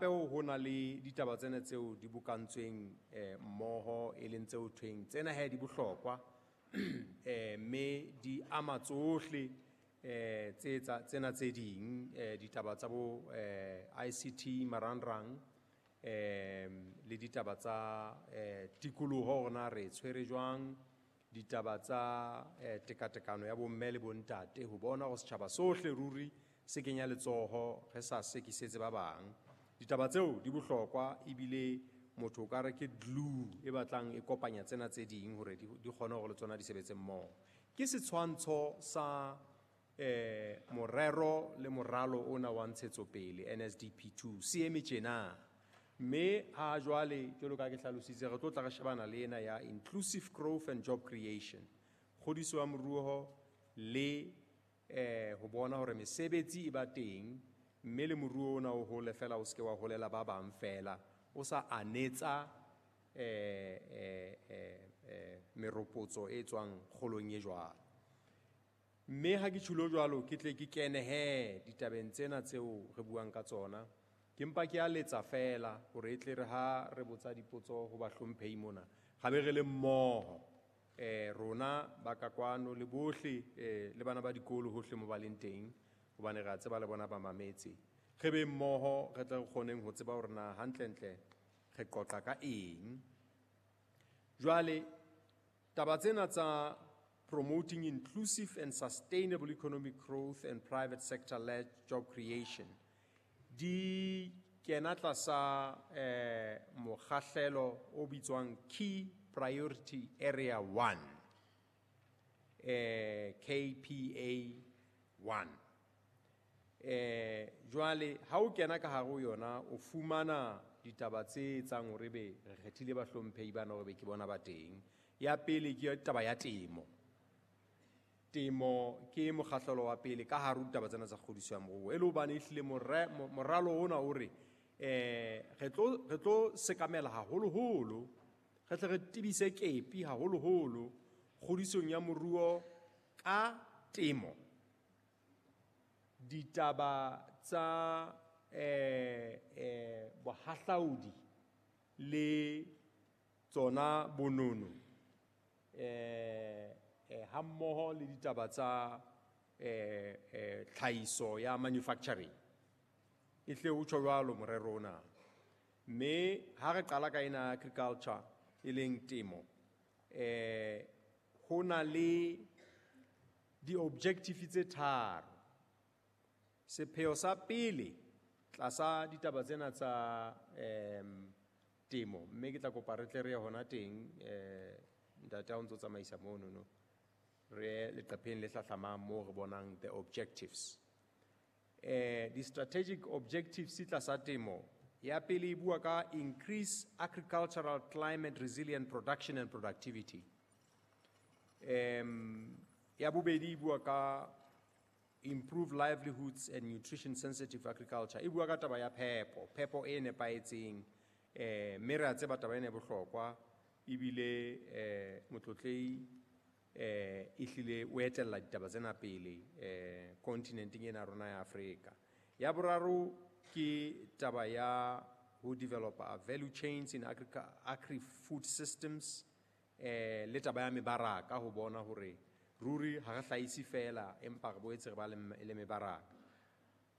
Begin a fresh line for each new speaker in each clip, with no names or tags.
Hape ho na le ditaba tsena tseo di bokantsweng mmoho, e leng tseo thweng tsena he di bohlokwa, mme di ama tsohle tse tsena tse ding, ditaba tsa bo ICT, marangrang, le ditaba tsa tikoloho, hore na re tshwere jwang, ditaba tsa tekatekano ya bomme le bontate, ho bona hore setjhaba sohle ruri se kenya letsoho, re sa sekisetse ba bang. Ditaba tseo di bohlokwa, ebile motho o ka re ke glue e batlang e kopanya tsena tse ding hore di kgone hore le tsona di sebetse mmoho. Ke setshwantsho sa morero le moralo ona wa ntshetsopele NSDP2 se eme tjena. Mme ha jwale, jwalo ka ke hlalositse, re tlo tla re shebana le ena ya inclusive growth and job creation, kgodiso ya moruo le ho bona hore mesebetsi e ba teng, mme le moruo ona o hole fela, o seke wa holela ba bang fela, o sa anetsa meropotso e tswang kgolong e jwalo. Mme ha ke tjhulo jwalo, ke tle ke kene he ditabeng tsena tseo re buang ka tsona. Ke mpa ke a letsa fela hore e tle re ha re botsa dipotso ho bahlomphehi mona, ga be re le mmoho, rona ba ka kwano le bohle, le bana ba dikolo hohle mo ba leng teng, hobane re a tseba le bona ba mametse. Re be mmoho, re tle re kgoneng ho tseba hore na hantlentle re qoqa ka eng. Jwale taba tsena tsa promoting inclusive and sustainable economic growth and private sector led job creation di kena tlasa mokgahlelo o bitswang Key Priority Area 1, KPA 1. Jwale ha o kena ka hare ho yona, o fumana ditaba tse etsang hore be re kgethile bahlomphehi bana hore be ke bona ba teng. Ya pele ke taba ya temo. Temo ke mokgahlelo wa pele ka hare ho ditaba tsena tsa kgodiso ya moruo, e le hobane ehlile moralo ona o re re tlo sekamela haholoholo, re tle re tebise kepi haholoholo kgodisong ya moruo ka temo, ditaba tsa bohahlaudi le tsona bonono, hammoho le ditaba tsa tlhahiso ya manufacturing. E hle o tjho jwalo morero ona. Mme ha re qala ka ena agriculture, e leng temo, ho na le di-objective tse tharo. Sepheo sa pele tlasa ditaba tsena tsa temo, mme ke tla kopa re tle re ye hona teng, ntate, ha o ntso tsamaisa mono, no re ye leqepheng le hlahlamang moo re bonang the objectives, di-strategic objectives tlasa temo. Ya pele e bua ka increase agricultural climate resilient production and productivity. Ya bobedi e bua ka improve livelihoods and nutrition sensitive agriculture. E bua ka taba ya phepo, phepo e nepahetseng, mme re a tseba taba ena e bohlokwa, ebile motlotlei ehlile o etella ditaba tsena pele kontinenteng ena ya rona ya Afrika. Ya boraro ke taba ya ho developa value chains in agri food systems, le taba ya mebaraka, ho bona hore ruri ha re hlahise fela, empa re boetse re ba le mebaraka.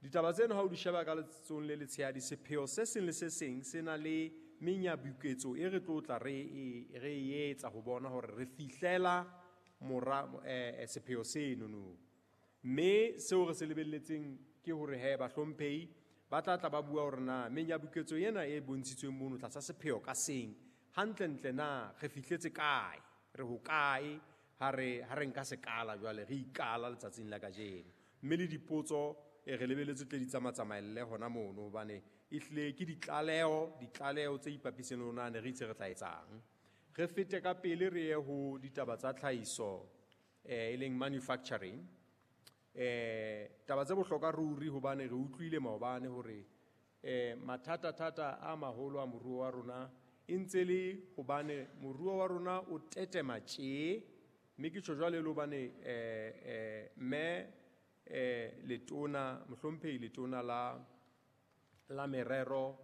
Ditaba tseno ha o di sheba ka letsohong le letshehadi, sepheo se seng le se seng se na le menyabuketso e re tlo tla re e etsa ho bona hore re fihlela mora sepheo seno no. Mme seo re se lebelletseng ke hore he bahlomphehi ba tla tla ba bua hore na menyabuketso ena e bontshitsweng mono tlasa sepheo ka seng, hantlentle na re fihletse kae, re hokae ha re nka sekala jwale re ikala letsatsing la kajeno. Mme le dipotso re lebeletse tle di tsamatsamaelle hona mono, hobane ehlile ke ditlaleho tse ipapiseng le rona, ne re itse re tla etsang. Re fete ka pele re ye ho ditaba tsa tlhahiso, e leng manufacturing. Taba tse bohlokwa ruri, hobane re utlwile maobane hore mathata-thata a maholo a moruo wa rona e ntse le hobane moruo wa rona o tetema tje. Mme ke tjho jwale le hobane mme letona, mohlomphehi letona la merero.